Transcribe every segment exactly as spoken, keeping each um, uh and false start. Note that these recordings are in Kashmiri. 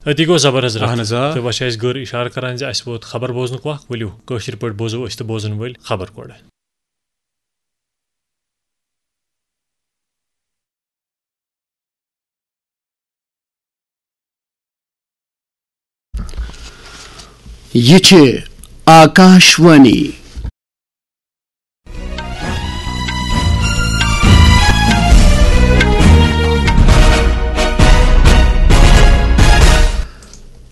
أتی گوٚو زبر حضرت۔ اہن حظ، آ۔ تہٕ وۄنۍ چھِ اَسہِ گٔر اِشارٕ کران زِ اَسہِ ووت خبر بوزنُک وق۔ ؤلِو، کٲشِر پٲٹھۍ بوزو أسۍ تہٕ بوزن وٲلۍ خبر گۄڈٕ۔ یہِ چھِ آکاشوانی۔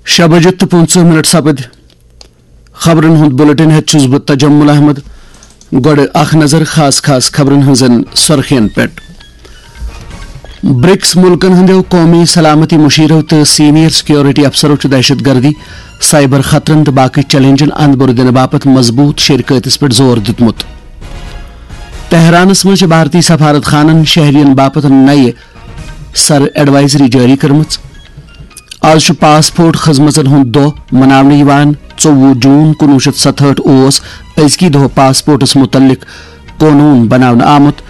شےٚ بجہِ تہٕ پٕنٛژٕہ منٹ سپٕدۍ۔ خبرن ہُنٛد بلیٹن ہٮ۪تھ چھُس بہٕ تجمل احمد۔ گۄڈٕ اکھ نظر خاص خاص خبرن ہٕنٛزن سرخین پٮ۪ٹھ۔ برکس ملکن ہٕنٛدیو قومی سلامتی مشیرو تہٕ سینئر سیکیورٹی افسرو چھُ دہشت گردی، سائبر خطرن تہٕ باقی چیلنجن اندبر دِنہٕ باپتھ مضبوط شراکتس پٮ۪ٹھ زور دیُتمُت۔ تہرانس منٛز چھِ بھارتی سفارت خانن شہرین باپتھ نَیہِ سر ایڈوائزری جٲری کٔرمٕژ۔ آز چھُ پاسپورٹ خدمژن ہُنٛد دۄہ مناونہٕ یِوان۔ ژوٚوُہ جوٗن کُنوُہ شیٚتھ ستہٲٹھ اوس أزکی دۄہ پاسپورٹس مُتعلق قونوٗن بناونہٕ آمُت،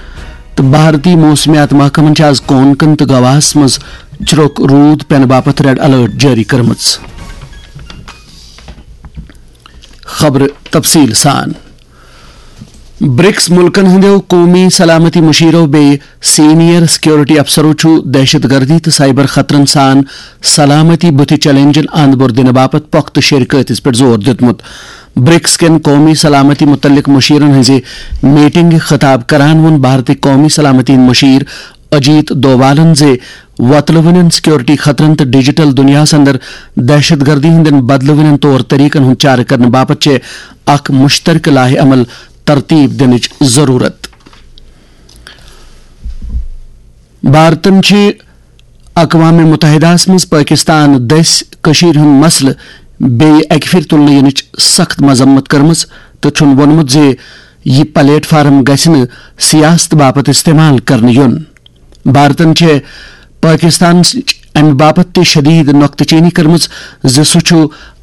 تہٕ بھارتی موسمیات محکمن چھِ آز کونکن تہٕ گواہس منٛز چھرۄک روٗد پینہٕ باپتھ ریڈ الرٹ جٲری کٔرمٕژ۔ خبرٕ تفصیٖل سان۔ برکس ملکن ہٕنٛدیو قومی سلامتی مشیرو بیٚیہِ سینئر سیکیورٹی افسرو چھُ دہشت گردی تہٕ سائبر خطرن سان سلامتی بُتھِ چیلنجن اند بور دِنہٕ باپتھ پۄختہٕ شراکتس پٮ۪ٹھ زور دیُتمُت۔ برکس کٮ۪ن قومی سلامتی متعلق مشیرن ہٕنٛزِ میٹنگہِ خطاب کران ووٚن بھارتی قومی سلامتی ہٕنٛدۍ مشیر اجیت دووالن زِ وۄتلہٕ وٕنٮ۪ن سیکیورٹی خطرن تہٕ ڈیجیٹل دُنیاہس اندر دہشت گردی ہٕنٛدٮ۪ن بدلہٕ وٕنٮ۪ن طور طریقن ہُنٛد چارٕ کرنہٕ باپتھ چھِ اکھ مشترکہٕ لائحہ عمل ترتیب دِنٕچ ضروٗرت۔ بھارتن چھِ اقوام متحدہس منٛز پٲکستان دٔسۍ کٔشیٖرِ ہُنٛد مسلہٕ بیٚیہِ اکہِ پھِرِ تُلنہٕ یِنٕچ سخت مذمت کٔرمٕژ تہٕ چھُن ووٚنمُت زِ یہِ پلیٹ فارم گژھِ نہٕ سیاست باپتھ استعمال کرنہٕ یُن۔ بھارتن چھےٚ پٲکستانٕچ امہِ باپتھ تہِ شدید نۄقطہٕ چینی کٔرمٕژ زِ سُہ چھُ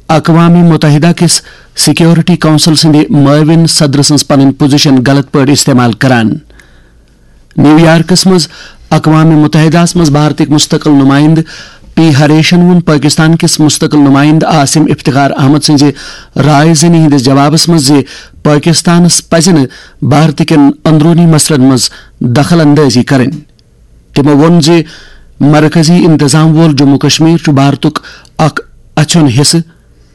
اقوام متحدہ کِس سیکیورٹی کونسل سٕنٛدِ معاون صدر سٕنٛز پنٕنۍ پوزیشن غلط پٲٹھۍ استعمال کران۔ نیویارکس منٛز اقوام متحدہس منٛز بھارتٕکۍ مستقل نمائندٕ پی ہریشن ووٚن پٲکستان کِس مستقل نمائندٕ عاصم افتخار احمد سٕنٛزِ رائے زنی ہٕنٛدِس جوابس منٛز زِ پٲکستانس پزِ نہٕ بھارت کٮ۪ن اندروٗنی مسلن منٛز دخل اندٲزی کرٕنۍ۔ تِمو ووٚن زِ مرکزی انتظام وول جموں کشمیر چھُ بھارتُک اکھ اَژھیُن حصہٕ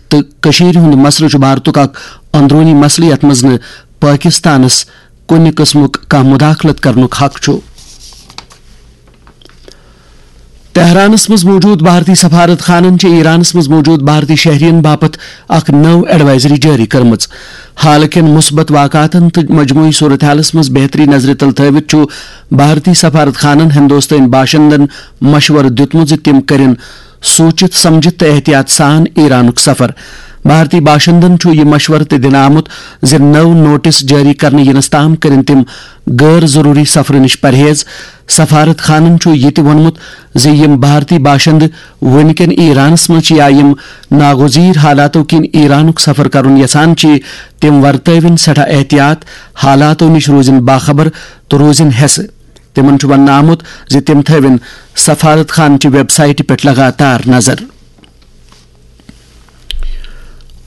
تہٕ کٔشیٖرِ ہُنٛد مسلہٕ چھُ بھارتُک اکھ اندروٗنی مسلہٕ یَتھ منٛز نہٕ پٲکِستانَس کُنہِ قٕسمُک کانٛہہ مداخلت کرنُک حق چھُ۔ تہرانَس منٛز موجود بھارتی سفارت خانَن چھِ ایرانَس منٛز موجود بھارتی شہرین باپتھ اکھ نٔو ایڈوائزری جٲری کٔرمٕژ۔ حالہٕ کٮ۪ن مثبت واقعاتن تہٕ مجموعی صورتحالَس منٛز بہتری نظرِ تل تھٲوِتھ چھُ بھارتی سفارت خانَن ہندوستٲنۍ باشندن مشورٕ دیُتمُت زِ تِم کٔرِن سوٗنچِتھ سمجھِتھ تہٕ احتیاط سان ایرانُک سفر۔ بھارتی باشندن چھُ یہِ مشورٕ تہِ دِنہٕ آمُت زِ نٔو نوٹس جٲری کرنہٕ یِنس تام کٔرِن تِم غٲر ضروٗری سفرٕ نِش پرہیز۔ سفارت خانن چھُ یہِ تہِ ووٚنمُت زِ یِم بھارتی باشندٕ وُنہِ کٮ۪ن ایرانس منٛز چھِ یا یِم ناگزیر حالاتو کِنۍ ایرانُک سفر کرُن یژھان چھِ، تِم ورتٲوِن سٮ۪ٹھاہ احتیاط، حالاتو نِش روزِن باخبر تہٕ روزِن ہٮ۪سہٕ۔ تِمن چھُ وننہٕ آمُت زِ تِم تھٲوِن سفارت خانہٕ چہِ ویب سائٹہِ پٮ۪ٹھ لگاتار نظر۔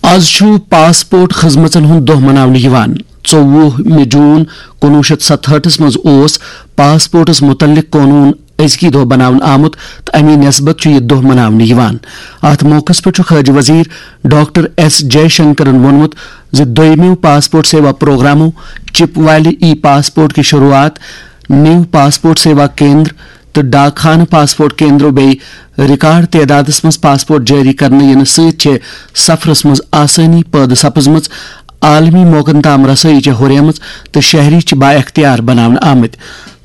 آز چھُ پاسپورٹ خدمژن ہُنٛد دۄہ مناونہٕ یِوان۔ ژوٚوُہ مے جون کُنوُہ شیٚتھ ستہٲٹھس منٛز اوس پاسپورٹس مُتعلق قونوٗن أزکی دۄہ بناونہٕ آمُت تہٕ اَمی نسبت چھُ یہِ دۄہ مناونہٕ یِوان۔ اَتھ موقعس پٮ۪ٹھ چھُ خارجہ وزیر ڈاکٹر ایس جے شنکرن ووٚنمُت زِ دوٚیمیو پاسپورٹ سیوا پروگرامو، چپ والہِ ای پاسپورٹ کہِ شروعات، نیو پاسپورٹ سیوا کیندر تہٕ ڈاک خانہٕ پاسپورٹ کیندرو بیٚیہِ ریکارڈ تعدادس منٛز پاسپورٹ جٲری کرنہٕ یِنہٕ سۭتۍ چھِ سفرس منٛز آسٲنی پٲدٕ سپٕزمٕژ، عالمی موقعن تام رسٲیی چھےٚ ہُریمٕژ تہٕ شہری چھِ با اختیار بناونہٕ آمٕتۍ۔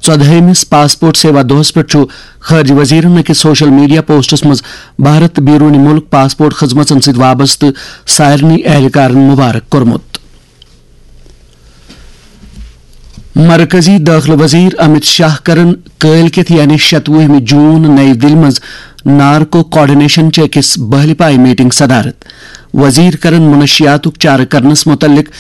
ژۄدہٲیمِس پاسپورٹ سیوا دۄہس پٮ۪ٹھ چھُ خارجہ وزیرن أکِس سوشل میڈیا پوسٹس منٛز بھارت تہٕ بیرون ملک پاسپورٹ خدمژن سۭتۍ وابستہٕ سارنٕے اہلکارن مبارک کوٚرمُت۔ مرکزی دٲخلہٕ وزیر امت شاہ کرن کٲلۍ کٮ۪تھ یعنی شتوُہمہِ جون نئی دِلہِ منٛز نارکو کوآرڈینیشن چہِ أکِس بہلہِ پایہِ میٹنگ صدارت۔ وزیر کرن منشیاتُک چارٕ کرنس مُتعلق